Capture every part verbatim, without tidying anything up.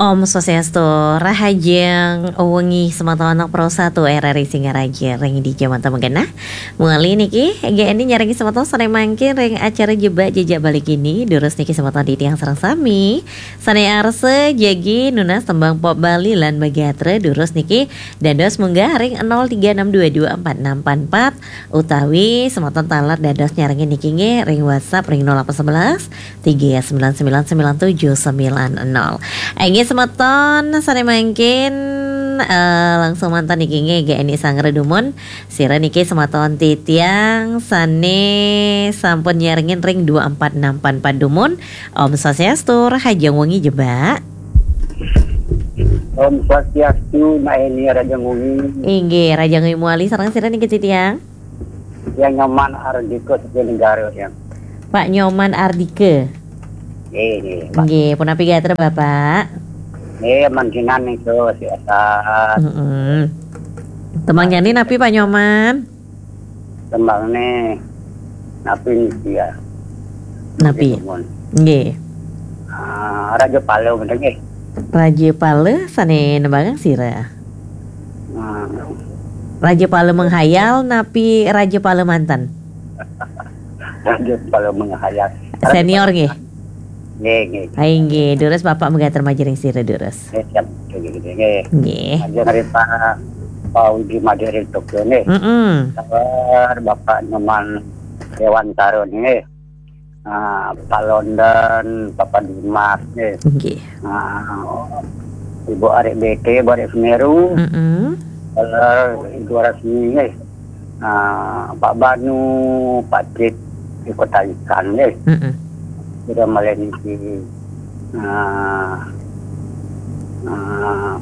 Om Swastiastu, rahajeng wengi semeton Pro satu R R I Singaraja ring dija manten magenah. Muli niki, G N I nyarengin semeton sane mangkin ring acara Jebak Jejak Bali Kini, durus niki semeton titiang sareng sami. Sane arsa jagi nunas tembang pop Bali lan magatra, durus niki dados munggah ring nol tiga enam dua dua empat enam empat empat, utawi semeton taler dados nyarengin niki nggih ring WhatsApp ring nol delapan sebelas tiga sembilan sembilan sembilan tujuh sembilan nol. Inggih semeton sane mangkin, eh, langsung manten niki nggih G N I sanggra dumun. Sira niki semeton titiang sane sampun nyarengin ring dua empat enam empat empat dumun. Om Swastiastu, rahajeng wengi Jebak. Om Swastiastu, Mak Eni, rahajeng wengi. Inggih, rahajeng wengi muli sareng sira niki titiang. Yang Nyoman Ardika Setia Negara, yang. Pak Nyoman Ardika. Nggih, nggih, Pak. Nggih, punapi gatra, Bapak? Nggih, mangkinan niku sehat. Mm-mm. Tembangnyané napi, Pak Nyoman? Tembangne napi niki ya? Napi? Nggih, Mon. Nggih. Ah, Raja Pala, bener nggih? Raja Pala sane nembangang sira? Hmm. Raja Pala menghayal napi Raja Pala manten? Raja Pala menghayal. Senior nggih? Nggih, nggih. Ai nggih, durus Bapak magatra majeng sira durus. Nggih, siap. Nggih, nggih, nggih. Nggih. Majeng ring Pak, Pak Widi Madé ring Tokyo nggih. Mm-mm. Sabar Bapak Nyoman Dewantara nggih. Ah, Pak London, Papa Dimas nggih. Nggih. Ah, Ibu Arek B T, Ibu Arek Semeru. Mm-mm. Sabar Ibu Rasmi nggih. Ah, Pak Banu, Pak Cip, di Kota Ikan nggih. Mm-mm. Sudah malih niki. Ah, ah,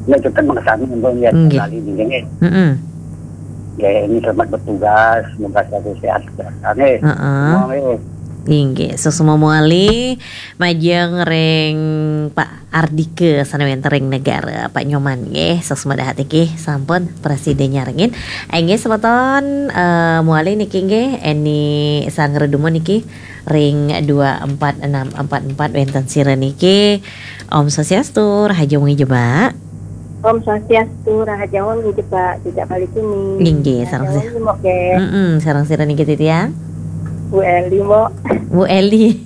ya, tetap mengesami untuk lihat. Nggih. Kali ini nggih. Mm-mm. Ya, ini selamat bertugas, semoga selalu sehat, sehat nggih. Heeh. Semua nggih. Inggih, suksma mawali majeng ring Pak Ardika sane wenten ring Negara, Pak Nyoman nggih, suksma dahat nggih, sampun prasida nyarengin. Inggih semeton, eh, mawali niki nggih, Eni Sangredumun niki ring dua empat enam empat empat wenten sira niki. Om Swastiastu, rahajeng wengi Jebak. Om Swastiastu, rahajeng wengi Jebak, Jejak Bali Kini. Inggih, sareng si- Rahajeng wengi, Mbok, nggih. Mm-mm, sareng sira niki titiang? Bu Eli, Mbok. Bu Eli.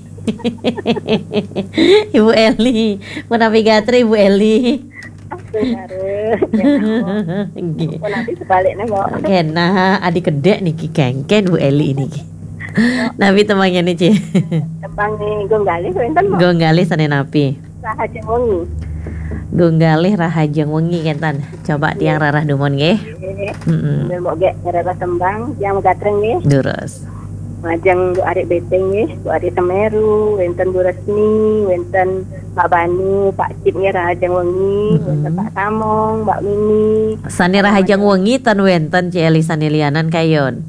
Ibu Eli, punapi gatra Ibu Eli? Aduh, kare. Nggih. Punapi sebaliknya, Mbok? Kenah, adi kedek niki kengken Bu Eli niki. Napi tembangnyané, Ci? Tembang nih, Gong Galih wenten, Mbok? Gong Galih sane napi? Rahajeng wengi. Gong Galih rahajeng wengi kenten. Coba tiang rarah dumun nggih. Nggih. Mm-mm. Sambil Mbok gek ngrereh tembang, tiang magatreng nggih. Durus. Majeng Bu Arik Beteng nggih, Bu Arik Semeru, wenten Bu Resmi, wenten Pak Banu, Pak Cip nggih rahajeng wengi, mm-mm, wenten Pak Samong, Mbak Mini. Sane rahajeng wengi ten wenten Ci Eli sane lianan kayun.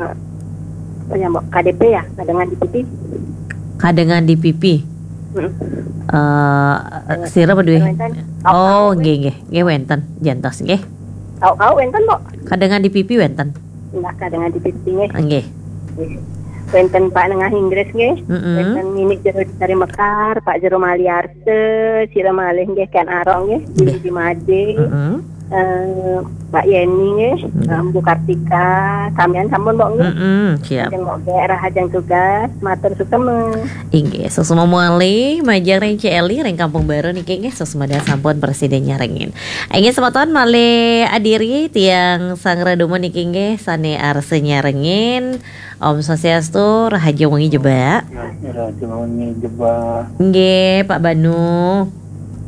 Eh, apa ya, Mbok? K D P ya, kadengan di pipi. Kadengan di pipi. Mm. Eh, sira berdua. Wenten. Oh, nggih, nggih. Nggih, wenten. Jantos, nggih. Kau, kau wenten, Mbok? Kadengan di pipi wenten. Nah, kadengan di pipi, nggih. Nggih. Wenten Pak Nengah Inggris, nggih. Mm-mm. Wenten Nini Jero dari Mekar, Pak Jero Maliarse, sira malih, nggih, Ken Arok, nggih. Nggih. Di Made. Mm-mm. Eh, Mbak Yeni nggih, nggih. Eh, Bu Kartika, samian sampun, Mbok, nggih. Mm-mm, siap. Lajeng Mbok nggih, rahajeng tugas, matur suksma. Inggih, suksma mawali, majeng ring Ci Eli ring Kampung Baru niki nggih, suksma dahat sampun prasida nyarengin. Inggih, semeton malih adiri tiang sangredumun niki nggih, sane arsa nyarengin. Om Swastiastu, rahajeng wengi Jebak. Ya, rahajeng wengi Jebak. Nggih, Pak Banu.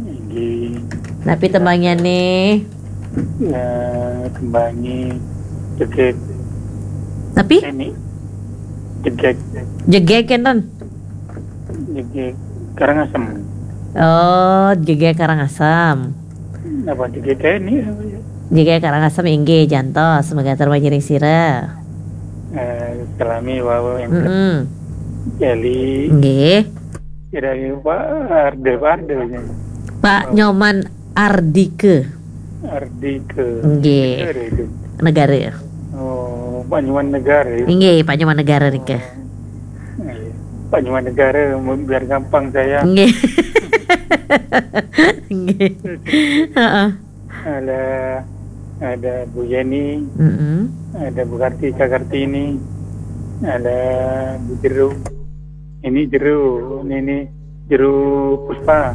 Nggih. Napi tembangnyané? Ya, tembangnyané jegeg. Napi? Ini. Jegeg. Jegeg enten. Jegeg Karangasem. Oh, jegeg Karangasem. Apa jegeg ini? Jegeg Karangasem inggih jantos, semoga terima sira. Eh, salami wau yang mm-mm. Jali. Nggih. Kira-kira Pak Arde, Pak Arde. Pak Nyoman Ardike. Ardike. Nggih. Negara itu. Negara. Oh, Pak Nyoman Negara. Nggih, Pak Nyoman Negara nike. Oh, iya. Pak Nyoman Negara, biar gampang saya. Nggih. Nggih. Heeh. Ada, ada Bu Yeni, Mm-mm. Ada Bu Karti, Kak Kartini, ada Bu Jeru. Ini Jeru, ini, ini Jeru Puspa.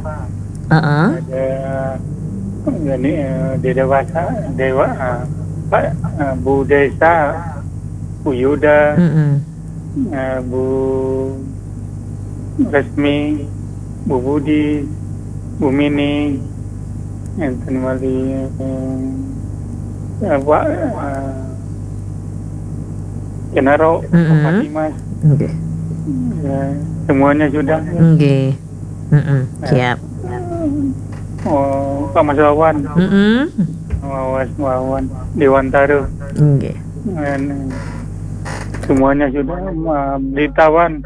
Heeh. Ada ini, eh, Dewa Dewasa, Dewa, eh, Pak, eh, Bu Desa, Bu Yuda, Mm-mm. eh, Bu Resmi, Bu Budi, Bu Mini, enten malih, eh, eh, Pak, eh, Kenaro, Mm-mm. Pak Dimas. Nggih. Ya, semuanya sudah. Nggih. Mm-mm. Ya. Siap. Oh, Pak Mas Wawan. Mm-mm. Wawan, Wawan. Dewantara. Nggih. Dan, eh, semuanya sudah, eh, Blitawan.